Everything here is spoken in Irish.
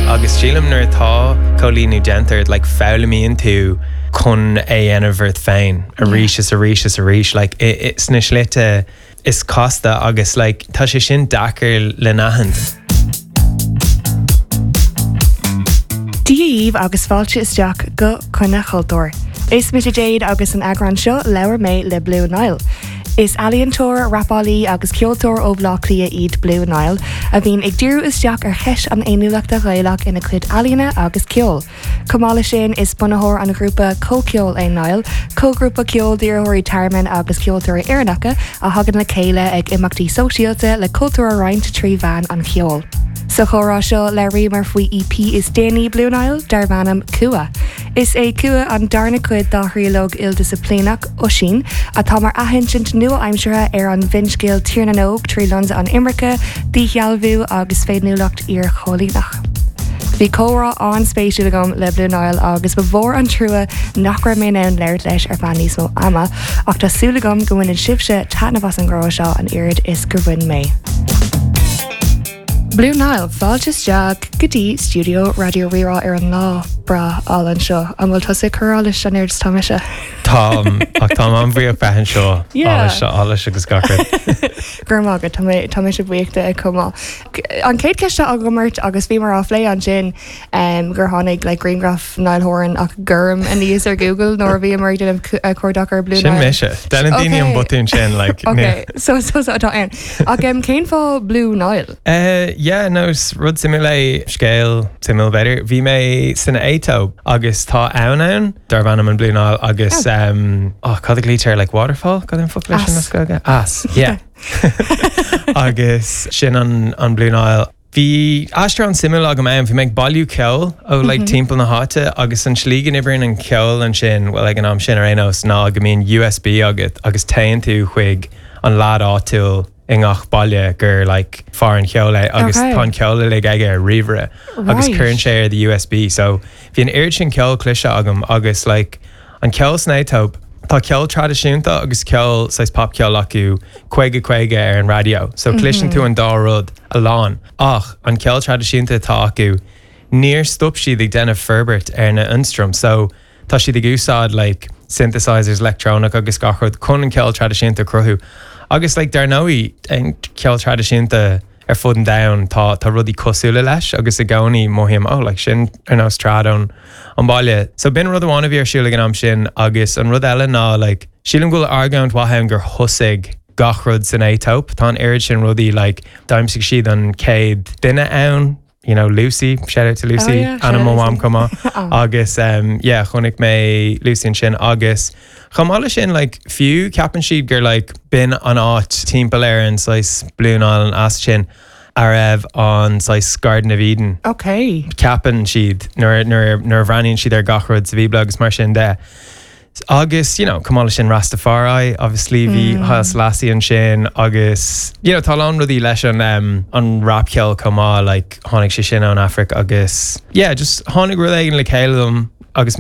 Agus sílim nuair atá coilíniú déanta ort, like, foghlaimíonn tú chun é a dhéanamh ort féin arís is arís is arís, like, sna slite is casta agus, like, tá sé sin deacair le n-aithint. Dia dhaoibh agus fáilte isteach go Coinne Chultúir. Is mise Jade agus san eagrán seo labhair mé le Blue Niall. Is ealaíontóir, rapálaí agus ceoltóir ó Bhaile Átha Cliath iad Blue Niall, a bhíonn ag díriú isteach ar cheist an fhéiniúlachta Ghaelach ina cuid ealaíne agus ceoil. Chomh maith leis sin, is bunaitheoir an ghrúpa Comhcheol é Niall, comhghrúpa ceoil d'iarrthóirí tearmainn agus ceoltóirí Éireannacha a thagann le chéile ag imeachtaí sóisialta le cultúr a roinnt trí mheán an cheoil. Sa chomhrá seo labhraíomar faoi EP is déanaí Blue Niall, darb ainm Cumha. Is é Cumha an darna cuid dá thríológ ildisciplíneach, Oisín, atá mar athinsint nua-aimseartha ar an bhfinscéal Tír na nÓg trí lionsa an imirce, díshealbhú agus féiniúlacht iarchoilíneach. Bhí comhrá an-spéisiúil agam le Blue Niall agus ba mhór an trua nach raibh mé in ann labhairt leis ar feadh níos mó ama, ach tá súil agam go mbaineann sibhse taitneamh as an gcomhrá seo an oiread is gur bhain mé. Blue Niall, fáilte isteach go dtí stiúideo Raidió Rí-Rá ar an lá breá álainn seo. An bhfuil tusa ag cur allais an oiread is atá mise? Táim, ach táim an-bhuíoch bheith anseo. Yeah. Allais, allais agus gach rud. Go raibh maith agat, tá mé, tá mise buíoch de chomh maith. An chéad cheist atá agam ort agus bhíomar á phlé ansin um, gur tháinig like, grianghraf Niall Horan ach gorm aníos ar Google nuair a bhíomar ag déanamh cuardach ar Blue Sin Niall. mise. Déanann daoine an Okay. botún sin, like, Ok, so so so atá ann. Ach um, cén fáth Blue Niall? Uh, yeah, no, is rud suimiúil é, scéal suimiúil b'fhéidir. Bhí mé san Aetóip agus tá abhainn ann darb ainm an Blue Nile agus Oh. um, oh, cad a ghlaoitear like waterfall? Cad é an focal leis sin Eas. as Gaeilge? Eas, yeah. Agus sin an, an Blue Nile. Bhí aistear an-suimiúil agam ann. Bhí mé ag bailiú ceoil ó like timpeall na háite agus an tslí go n-oibríonn an ceol ansin, bhuel ag an am sin ar aon nós, ná go mbíonn USB agat agus téann tú chuig an leaid áitiúil i ngach baile gur like fear an cheoil é agus Okay. tá an ceol uilig aige ar ríomhaire agus Right. cuireann sé ar do USB. So bhí an oiread sin ceoil cloiste agam agus like an ceol san Aetóip, tá ceol traidisiúnta agus ceol saghas popcheol acu 50 50 ar an raidió. So cloiseann tú an dá rud. a lán. Ach an ceol traidisiúnta atá acu, níor stop siad ag déanamh forbairt ar na ionstraim. So, tá siad ag úsáid like synthesizers leictreonach agus gach rud chun an ceol traidisiúnta a chruthú. Agus like dar ndóigh, an ceol traidisiúnta ar fud an domhain, tá tá rudaí cosúla leis agus i gcónaí mothaím, oh like sin ar nós trad ón an baile. So b'in rud amháin a bhí ar siúl ag an am sin agus an rud eile ná like sílim go bhfuil argóint mhaith ann gur thosaigh gach rud san Aetóip. Tá an oiread sin rudaí like d'aimsigh siad an chéad duine ann, you know, Lucy, shout out to Lucy, Oh yeah, shout ainm out mo Lucy. mham chomh maith. Oh. Agus um, yeah, chonaic mé Lucy ansin agus chomh maith leis sin like fiú ceapann siad gur like b'in an áit timpeall ar an saghas Blue Nile an eas sin a raibh an saghas Garden of Eden. Okay. Ceapann siad nuair nuair nuair a bhreathnaíonn siad ar gach rud sa Bhíobla agus mar sin de. Agus, you know, chomh maith leis sin Rastafari, obviously, bhí Haile Selassie ansin agus, you know, tá a lán rudaí leis an um, an rapcheol chomh maith, like, tháinig sé sin ón Afraic agus, yeah, just tháinig rud éigin le chéile dom agus mé.